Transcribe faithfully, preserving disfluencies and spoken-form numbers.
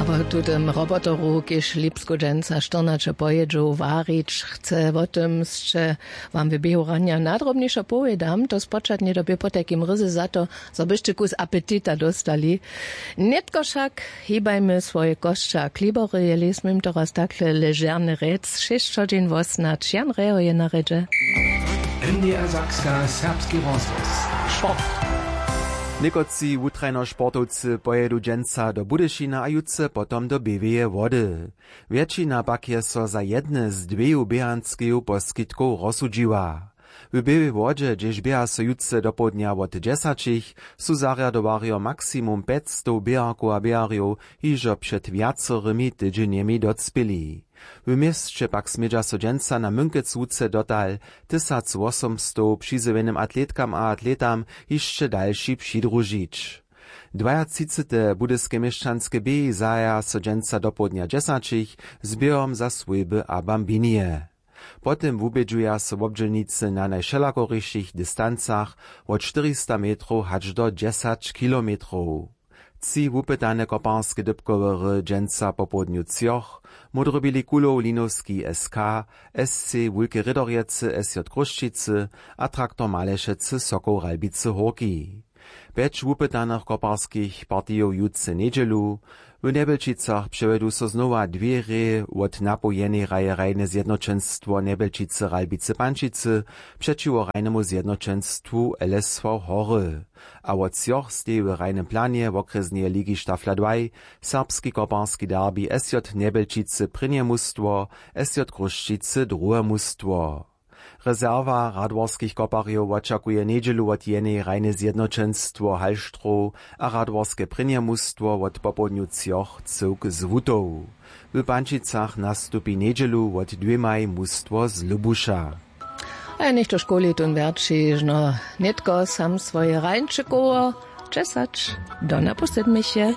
Wo tutym robotoru, kiž lipsku dźensa štyrnaće pojědźow warić chce, wo tym sće wam w běhu ranja nadrobnišo powědam. To spočatnje době potajkim ryzy za to, zo byšće kus apetita dóstali. Nětko wšak hibajmy swoje kosće a klibory, jeli smím to raz takle ležerne rjec, šěsć hodźin wosnać. Jan Reho je na rědźe. N D R Sakska, serbski rozhłos. Sport. Někotři wutrajnošportowcy pojědu dźensa do Budyšina a jutře potom do Běłeje Wody. Wjetšina pak je so za jedne z dweju běhanskeju poskitkow rozsudźiła. W Běłej Wodźe, hdźež běha so jutře dopołdnja wot dźesaćich, su zarjadowarjo maksimum pjećstow běharkow a běharjow hižo před wjacorymi tydźenjemi docpěli. W měsće pak smědźa so dźensa na Mynkec wuce dotal tysacwosomstow přizjewjenym atletkam a atletam hišće dalši přidružić. Dwajatřicete budyske měšćanske běhi zahaja so dźensa dopołdnja dźesaćich z běhom za swójby a bambinije. Potom wubědźuja so wobdźělnicy na najwšelakorišich distancach wot štyrista metrow hač do dźesać kilometrow. Tři wupytane koparske dypkowery dźensa popołdnju třoch, módrobili kulow Linowski S K, S C Wulke Rědorjecy, S J Chrósćicy a traktor Malešecy Sokoł Ralbicy Hórki. Pjeć wupytanych koparskich partijow jutře njedźelu, w Njebjelčicach přewjedu so znowa dwě reje wot napoł jenej raje Hrajne zjednoćenstwo Njebjelčicy Ralbicy Pančicy přećiwo Hrajnemu zjednoćenstwu L S V Hory. A wot třoch steji w hrajnym planje wokrjesneje ligi Stafla dwaj serbski koparski derbi S J Njebjelčicy prěnje mustwo, S J Chrósćicy druhe mustwo. Rezerwa radworskich koparjow wočakuje njedźelu wot jenej Hrajne zjednoćenstwo Hallstrow a radworske prěnje mustwo wot popołdnju třoch cyłk z Wutow. W Pančicach nastupi njedźelu wot dwěmaj mustwo z Lubuša. A ja něchtož kowlitun wjerćižno nětko sam swoje rańčekowo dźesać do napoł sedmich je.